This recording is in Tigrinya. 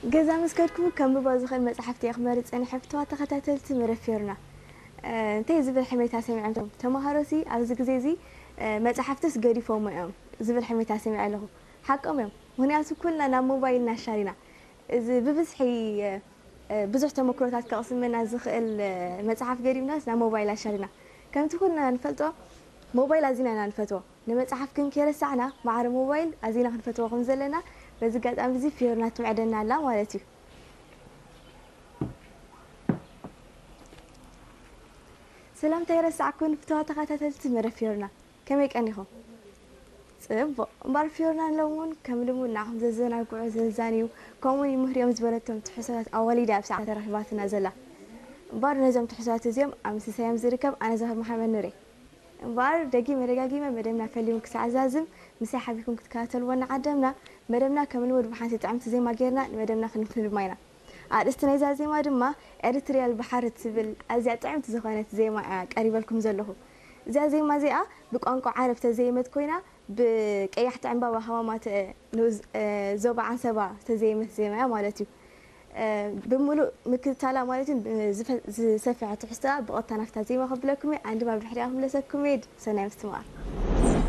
ገዛ ምስ ከድኩ ከንብቦ ዝኽእል መጽሓፍቲ እየ ክመርጽ ጸኒሐ። ፍትዋ ተኸታተልቲ መደብ ፊዮርና፣ እ፣ እንታይ ዝብል ሕሜታ ሰሚዖም? ተምሃሮሲ ኣብዚ ግዜ እዚ፣ እ፣ መጽሓፍትስ ገዲፎም እዮም ዝብል ሕሜታ ሰሚዐ ኣለኹ። ሓቆም እዮም። ምኽንያቱ ኩልና ናብ ሞባይልና ኣሻሪና። እዚ ብብዝሒ፣ እ፣ እ፣ ብዙሕ ተመክሮታት ከቕስመና ዝኽእል፣ እ፣ መጽሓፍ ገዲምናስ ናብ ሞባይል ኣሻሪና። ከምቲ ኩልና ንፈልጦ ሞባይል ኣዚና ኢና ንፈትዎ። ንመጽሓፍ ግን ከይረሳዕና ማዕረ ሞባይል ኣዚና ክንፈትዎ ከም ዘለና በዚ ኣጋጣሚ እዚ ፊዮርና ትምዕደና ኣላ ማለት እዩ። ሰላምታ ይረሳዕኩን ፍትዋ ተኸታተልቲ መደብ ፊዮርና፣ ከመይ ቀኒኹም? ጽቡቕ። እምበኣር ፊዮርና ንሎሚ እውን ከም ልሙድ ንዓኹም ዘዘናግዑ፣ ዘዛንዩ፣ ከምኡውን ይምህርዮም ዝበለቶም ትሕዝቶታት ኣዋሊዳ ኣብ ሰዓት ተረኺባትና ዘላ። እምበኣር ነዞም ትሕዝቶታት እዚኦም ኣብ ምስሳዮም ዝርከብ ኣነ ዘኽር መሓመድ ኑር እየ። እምበኣር ደጊመ ደጋጊመ መደብና ፈሊሙ ክሳዕ ዛዝም ምሳይ ሓቢርኩም ክትከታተልዎ ንዓደምና። መደብና ከም ልሙድ ብሓንቲ ጥዕምቲ ዜማ ጌርና ንመደብና ክንፍንድማ ኢና። ኣርእስቲ ናይዛ ዜማ ድማ ኤሪትሪያ ኣልባሕር እትብል ኣዝያ ጥዕምቲ ዝኾነት ዜማ እያ ቀሪበልኩም ዘለኹ። እዚኣ ዜማ እዚኣ ብቋንቋ ዓረብ ተዘየመት ኮይና ብቀያሕቲ ዕምባባ ሃማማት ንኡስ፣ እ፣ ዞባ ዓንሰባ ተዘየመት ዜማ እያ ማለት እዩ። እ፣ ብምሉእ ምክትታላ ማለት እዩ ዝፈ-፣ ዝሰፍሐ ትሕዝቶኣ ብቐጥታ ናብታ ዜማ ከብለኩም እየ። ኣነ ድማ ብድሕሪኣ ክምለሰኩም እየ። ሰናይ ምስትምቓር።